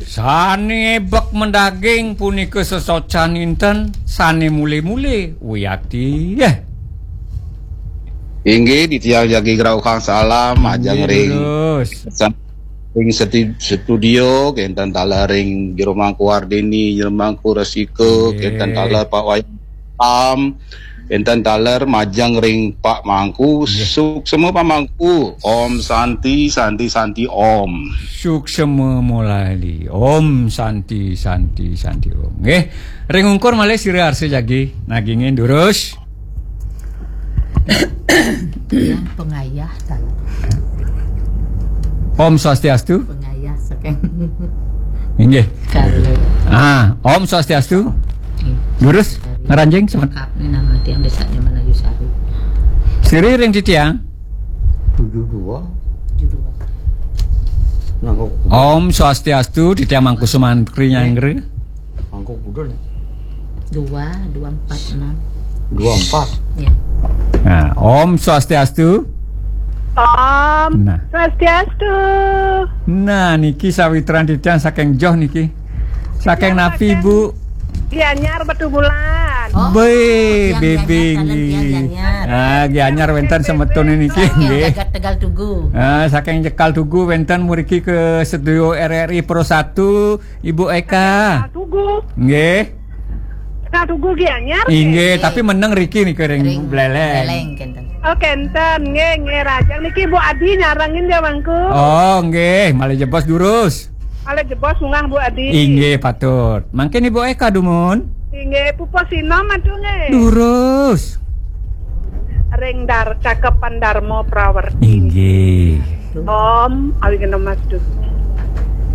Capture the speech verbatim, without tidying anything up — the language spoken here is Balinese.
Sane bek mendaging punika sesocan inten, sane mule-mule wiyati. Eh. Inggih, titiang jagi ngrauhang salam majeng ring ring setu- studio, kenten taler ring Jero Mangku Ardini, Jero Mangku Resika, kenten taler Pak Wayan Pam, kenten taler majeng ring Pak Mangku. Suksema Pak Mangku. Om Santi, Santi, Santi, Om. Suksema Molali. Om Santi, Santi, Santi, Om. Nggih. Ring ungkur malih sira arsa jagi nagingin durus. Yang pengayah tadi. Om Swastiastu. Pengayah saking Inggih. Kalau Ah, Om Swastiastu. Durus ngranjing semen. Lengkap nih nama tiang desanya Melayu Sari. Siri ring titiang. Tujuh dua. Judul. Nangkok. Om Swastiastu, titiang Mangku Sumantri Nyanggra. Mangkok Budul. Dua, dua empat enam. Dua empat. Ya. Nah, Om Swastiastu. Om Nah. Swastiastu. Nah, niki sawitran titiang saking Joh niki. Saking napi, Bu? Gianyar Batubulan. Oh, Be, tiang bebing Gianyar, nggih. tiang Gianyar. Ah, Gianyar wenten semetone niki Yang nggih. Jagat Tegal Tugu. Ah, saking Tegal Tugu wenten mriki ke studio R R I Pro satu, Ibu Eka. Tugu. Nggih. Nah, Tugu Gianyar. Inggih, tapi meneng riki nika ring Ring Buleleng. Buleleng kenten. Oh, kenten nggih, nggih, rajang niki Bu Adi nyarengin dia Mangku. Oh, nggih, malih jebos durus. Malih jebos munggah Bu Adi. Inggih, patut. Mangkin Ibu Eka dumun. Inggih, pupus sinom atuh nggih. Durus. Ring dar cakepan Darma Prawerti. Inggih. Om Awighnamastu.